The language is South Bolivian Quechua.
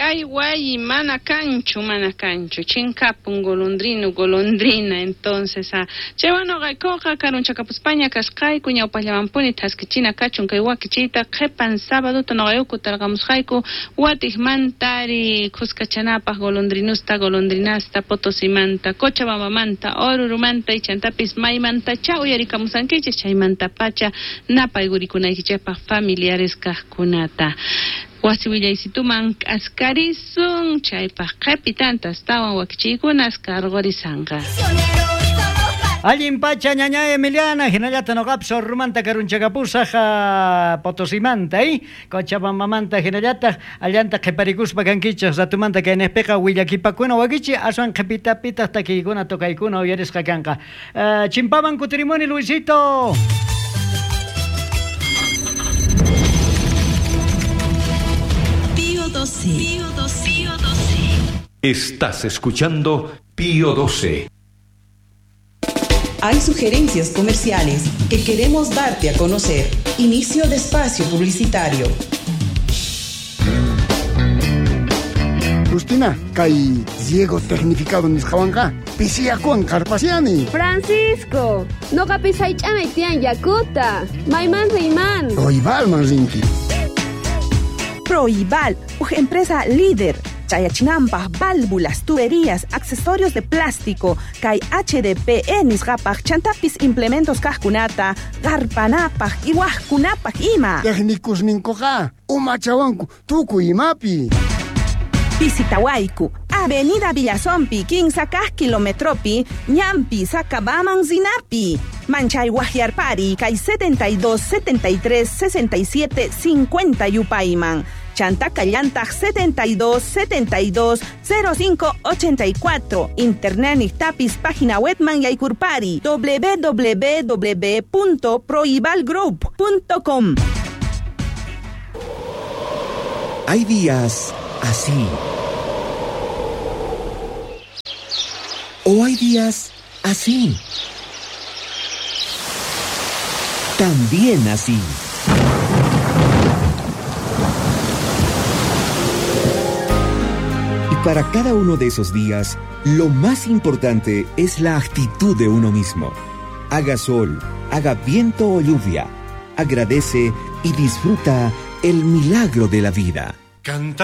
Kay wayi mana kanchu, mana kanchu. Chinkapun golondrino, golondrina. Entonces, chaywan noqaykuqa karunchakapuspaña kasqayku, ñawpaqllamanpuni thaskichina kachun kay wakichiyta qhipan sabaduta noqayku tarqamusqayku watiqmantari khuskachanapaq golondrinusta, golondrinasta, Potosimanta, Cochabambamanta, Orurumanta y chantapis maymantacha uyarikamusankichis chaymantapacha napaykuriykunaykichikpaq familiares kaqkunata. Wasi willaysituman k'askarisun chaypaq qhipitanta astawan wakichiykunas karqurisanqa. Allin pacha ñaña Emiliana, hinallata noqapis Orurumanta karunchakapusaq Potosimanta, Cochabambamanta hinallataq allanta qhiparikuspa kankichik ratumanta kayniqpiqa willakipakuna wakichi aswan qhipitapitaq takiykuna tokaykuna uyarisqa kanqa. Chimpaman kutirimuni Luisito. Pío 12. Pío 12. Pío 12. Estás escuchando Pío 12. Hay sugerencias comerciales que queremos darte a conocer. Inicio de espacio publicitario. Justina, kay riego tecnificado nisqawanqa pisiyakuwan qarpasiani. Francisco, noqapis haych'anay tiyan yakuta. Mayman riyman. Proibalman rinki. Proibal, uj empresa líder. Chayachinampaj, válvulas, tuberías, accesorios de plástico, kay HDPE nisqapaj, chantapis implementos kajkunata, qarpanapaj, iwajkunapaj ima. Técnicos ninkuqa, umachawanku, tukuy imapi. Visitawayku, Avenida Villazompi, 15 kaj kilometropi, Ñampi, Sacabaman, Zinapi. Manchay Guajiarpari, kay 72, 73, 67, 50 Yupayman. Chanta Callantag 72, 72, 05, 84. Internet Nictapis, página webman Yaykurpari, www.proibalgroup.com. Hay días así. O hay días así. También así. Y para cada uno de esos días, lo más importante es la actitud de uno mismo. Haga sol, haga viento o lluvia. Agradece y disfruta el milagro de la vida. Canta.